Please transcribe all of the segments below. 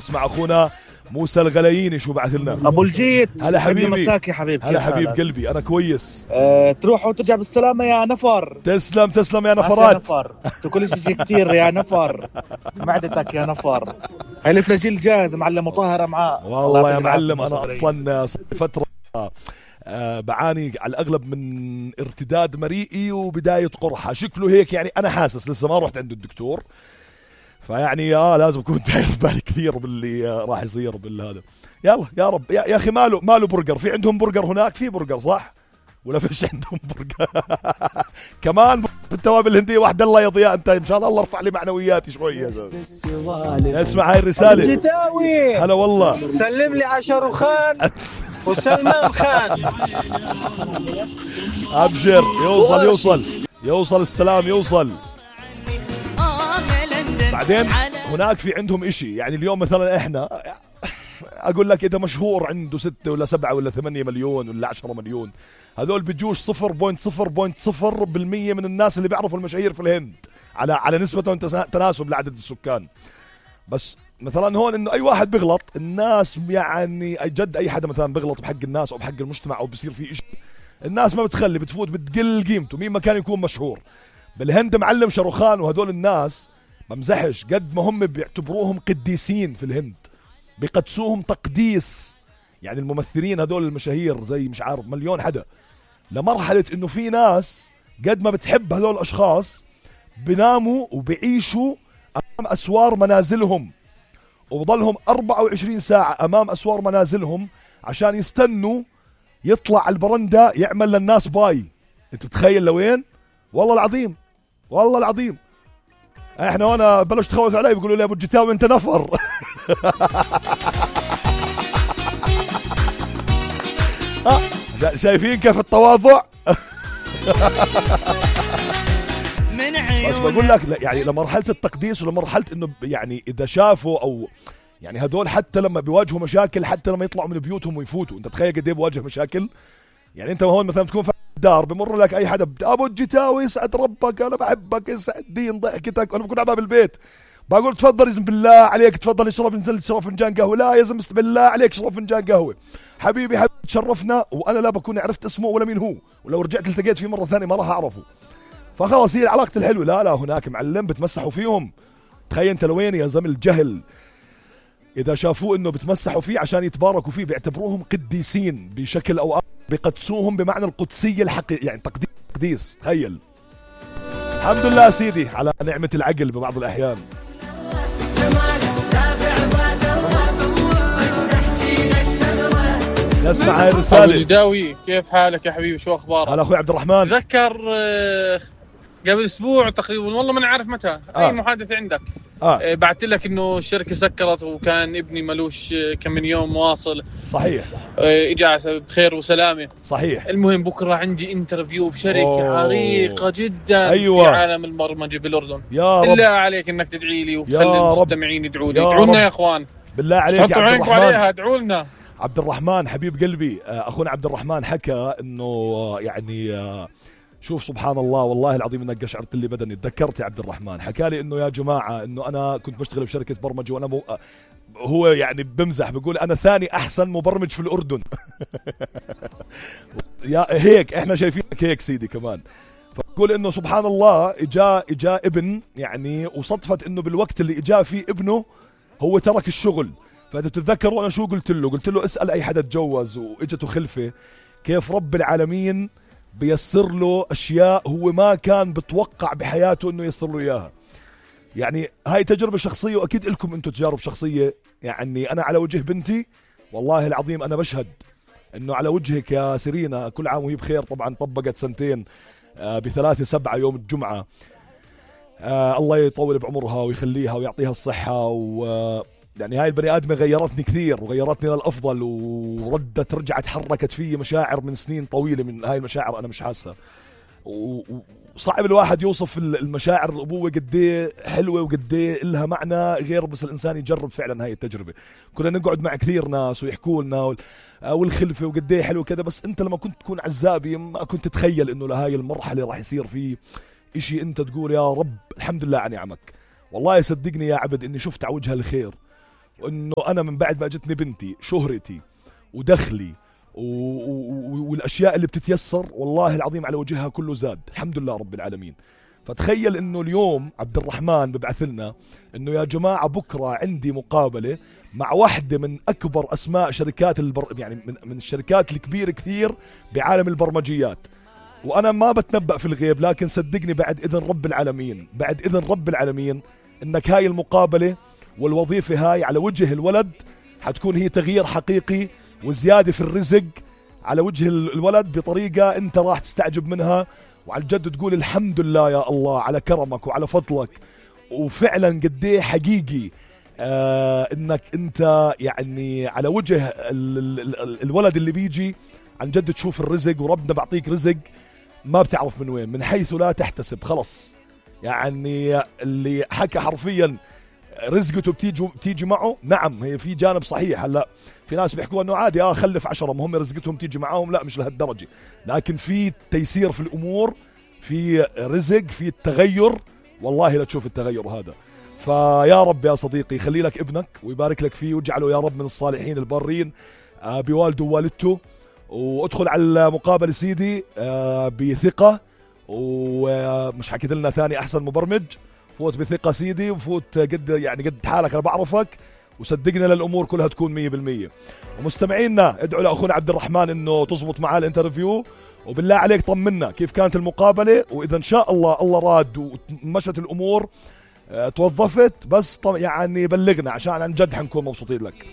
اسمع اخونا موسى الغلاييني شو بعث لنا. ابو الجيت، هلا حبيبي. مساك يا حبيبي. هلا حبيب قلبي، انا كويس. تروح وترجع بالسلامه يا نفر. تسلم تسلم يا نفرات. يا نفر تاكلش شيء كثير يا نفر، معدتك يا نفر. هاي الفلاجيل جاهز معلم مطهره معاه. والله يا معلم انا اصلا فتره بعاني على الاغلب من ارتداد مريئي وبدايه قرحه، شكله هيك يعني. انا حاسس لسه ما رحت عند الدكتور، فيعني لازم اكون داير بالي كثير باللي راح يصير بالهذا. يلا يا رب. يا اخي ماله برجر؟ في عندهم برجر هناك؟ في برجر صح ولا فيش عندهم برجر؟ كمان بالتوابل الهنديه واحده. الله يا ضياء، انت ان شاء الله ارفع لي معنوياتي شويه. اسمع هاي الرساله. جتاوي هلا والله. سلم لي على شاروخان وسلمان خان. ابشر، يوصل السلام يوصل. بعدين هناك في عندهم اشي، يعني اليوم مثلا احنا اقول لك اذا مشهور عنده 6 ولا 7 ولا 8 مليون ولا 10 مليون، هذول بيجوش 0.0% من الناس اللي بيعرفوا المشاهير في الهند على نسبة تناسب لعدد السكان. بس مثلا هون انه اي واحد بيغلط، الناس يعني جد اي حدا مثلا بيغلط بحق الناس او بحق المجتمع او بيصير فيه اشي، الناس ما بتخلي، بتفوت بتقل قيمته مين ما كان يكون مشهور. بالهند معلم شاروخان وهدول الناس بمزحش، قد ما هم بيعتبروهم قديسين في الهند، بيقدسوهم تقديس. يعني الممثلين هدول المشاهير زي مش عارف مليون حدا، لمرحلة انه في ناس قد ما بتحب هدول الاشخاص بناموا وبيعيشوا امام اسوار منازلهم، وبضلهم 24 ساعة امام اسوار منازلهم عشان يستنوا يطلع على البرندة يعمل للناس باي. انت بتخيل لوين؟ والله العظيم والله العظيم. احنا وانا بلشت تخوف علي بيقولوا لي ابو الجتاوي انت نفر. شايفين كيف التواضع؟ بس بقول لك يعني لمرحلة التقديس ولمرحلة انه يعني اذا شافوا او يعني هدول حتى لما بيواجهوا مشاكل، حتى لما يطلعوا من بيوتهم ويفوتوا، انت تخيل قد ايه بواجه مشاكل. يعني انت هون مثلا تكون في الدار بمر لك اي حدا، ابو الجتاوي يسعد ربك انا بحبك يسعد دين ضحكتك، وانا بكون على باب البيت بقول تفضل يزم بالله عليك تفضل اشرب، نزل اشرب فنجان قهوه. لا يا زلمه بالله عليك اشرب فنجان قهوه. حبيبي تشرفنا، وانا لا بكون عرفت اسمه ولا مين هو، ولو رجعت التقيت فيه مره ثانيه ما راح اعرفه. فخلاص هي علاقه الحلوه. لا هناك معلم بتمسحوا فيهم. تخيل انت لوين يا زلمه الجهل، اذا شافوه انه بتمسحوا فيه عشان يتباركوا فيه بيعتبروهم قديسين بشكل او اخر، بيقدسوهم بمعنى القدسيه الحقيقيه، يعني تقديس. تخيل. الحمد لله سيدي على نعمه العقل ببعض الاحيان. نسمع هاي الرساله. ابو الجداوي كيف حالك يا حبيبي؟ شو اخبارك؟ هلا اخوي عبد الرحمن. تذكر قبل اسبوع تقريبا، والله ما نعرف متى اي محادثه عندك. بعثت لك انه الشركه سكرت وكان ابني ملوش كم من يوم واصل. صحيح. اجى بخير وسلامه. صحيح. المهم بكره عندي انترفيو بشركه عريقه جدا. أيوة. في عالم البرمجه بالاردن. يا رب بالله عليك انك تدعي لي وتخلي المستمعين يدعوا لي. ادعوا لنا يا اخوان بالله عليك يا عبد الرحمن. عليها ادعوا لنا. عبد الرحمن حبيب قلبي، اخونا عبد الرحمن حكى انه يعني شوف سبحان الله والله العظيم انك قشعرت لي بدني. تذكرت يا عبد الرحمن حكى لي انه يا جماعه انه انا كنت بشتغل بشركه برمجه، وانا هو يعني بمزح بيقول انا ثاني احسن مبرمج في الاردن. يا هيك احنا شايفينك هيك سيدي كمان. فبقول انه سبحان الله اجا ابن يعني، وصدفت انه بالوقت اللي اجا فيه ابنه هو ترك الشغل. فانت بتتذكروا انا شو قلت له اسال اي حدا تجوز واجته خلفه كيف رب العالمين بيسر له اشياء هو ما كان بتوقع بحياته انه يسر له اياها. يعني هاي تجربه شخصيه، واكيد لكم انتم تجارب شخصيه. يعني انا على وجه بنتي والله العظيم انا بشهد انه على وجهك يا سيرينا كل عام وهي بخير. طبعا طبقت 2 سنين ب3/7 يوم الجمعه. الله يطول بعمرها ويخليها ويعطيها الصحه. يعني هاي البني آدمة غيرتني كثير وغيرتني للأفضل، رجعت حركت في مشاعر من سنين طويلة. من هاي المشاعر أنا مش حاسة، وصعب الواحد يوصف المشاعر الأبوة قديه حلوة وقديه إلها معنى غير بس الإنسان يجرب فعلا هاي التجربة. كنا نقعد مع كثير ناس ويحكوا لنا والخلفة وقديه حلو كذا، بس أنت لما كنت تكون عزابي ما كنت تتخيل إنه لهاي المرحلة راح يصير فيه إشي أنت تقول يا رب الحمد لله على نعمك. والله صدقني يا عبد إني شفت على وجه الخير وانه انا من بعد ما اجتني بنتي شهرتي ودخلي والاشياء اللي بتتيسر والله العظيم على وجهها كله زاد الحمد لله رب العالمين. فتخيل انه اليوم عبد الرحمن ببعث لنا انه يا جماعة بكرة عندي مقابلة مع واحدة من اكبر اسماء شركات يعني من الشركات الكبيرة كثير بعالم البرمجيات. وانا ما بتنبأ في الغيب، لكن صدقني بعد اذن رب العالمين انك هاي المقابلة والوظيفة هاي على وجه الولد حتكون هي تغيير حقيقي وزيادة في الرزق على وجه الولد بطريقة انت راح تستعجب منها، وعلى الجد تقول الحمد لله يا الله على كرمك وعلى فضلك. وفعلا قديه حقيقي انك انت يعني على وجه الولد اللي بيجي عن جد تشوف الرزق، وربنا بعطيك رزق ما بتعرف من وين، من حيث لا تحتسب. خلص يعني اللي حكى حرفيا رزقته بتيجي معه. نعم هي في جانب صحيح، هلا في ناس بيحكوا انه عادي خلف 10 مهم رزقتهم تيجي معاهم، لا مش لهالدرجة، لكن في تيسير في الامور، في رزق، في التغير، والله لا تشوف التغير هذا. فيا رب يا صديقي خلي لك ابنك ويبارك لك فيه ويجعله يا رب من الصالحين البارين بوالده ووالدته. وادخل على المقابلة سيدي بثقة، ومش حكيت لنا ثاني احسن مبرمج، فوت بثقة سيدي وفوت قد حالك، انا بعرفك وصدقنا للامور كلها تكون 100%. ومستمعينا ادعوا لاخونا عبد الرحمن انه تزبط معاه الانترفيو، وبالله عليك طمنا كيف كانت المقابلة، واذا ان شاء الله راد ومشت الامور توظفت بس يعني بلغنا عشان عن جد حنكون مبسوطين لك.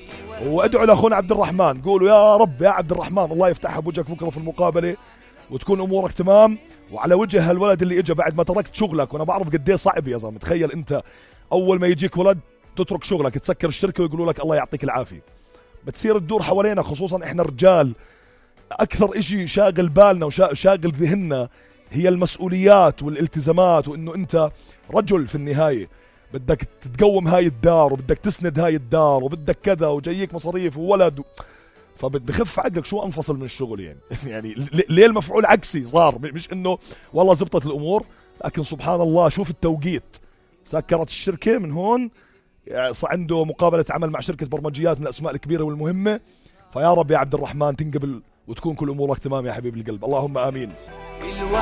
وادعوا لاخونا عبد الرحمن، قولوا يا رب يا عبد الرحمن الله يفتحها بوجهك بكره في المقابلة وتكون امورك تمام، وعلى وجه هالولد اللي اجى بعد ما تركت شغلك. وانا بعرف قد ايه صعب يا زلمه، تخيل انت اول ما يجيك ولد تترك شغلك تسكر الشركه ويقولوا لك الله يعطيك العافيه، بتصير تدور حوالينا، خصوصا احنا الرجال اكثر اشي شاغل بالنا وشاغل ذهننا هي المسؤوليات والالتزامات، وانه انت رجل في النهايه بدك تقوم هاي الدار وبدك تسند هاي الدار وبدك كذا وجايك مصاريف وولد فبخف عقلك شو انفصل من الشغل يعني يعني ليه المفعول عكسي صار، مش انه والله زبطت الامور، لكن سبحان الله شوف التوقيت، سكرت الشركه من هون عنده مقابله عمل مع شركه برمجيات من الاسماء الكبيره والمهمه. فيا رب يا عبد الرحمن تنقبل وتكون كل امورك تمام يا حبيب القلب، اللهم امين.